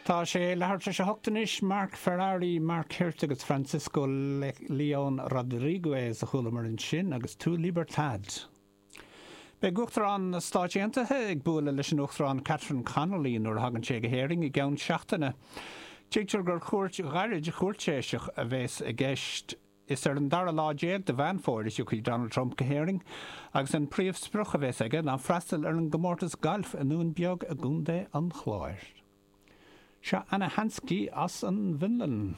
Tá sé leathuair tar éis a hocht anois. Mark Ferrari, Mark Hirt agus Francisco Leon Rodriguez a chualamar ansin agus Tu Libertad. Beidh Uachtarán na Stáit Aontaithe ag bualadh leis an Uachtarán Catherine Connolly nuair a thagann sé go hÉirinn i gceann seachtaine. Tuigtear gur chuairt ghairid chúirtéiseach a bheas i gceist. Is ar an dara lá déag de Mheán Fómhair a thiocfaidh Donald Trump go hÉirinn agus an príomhsprioc a bheas aige ná freastal ar an gcomórtas gailf i nDún Beag i gContae an Chláir. Seo Anna Hanski as an bhFionlainn.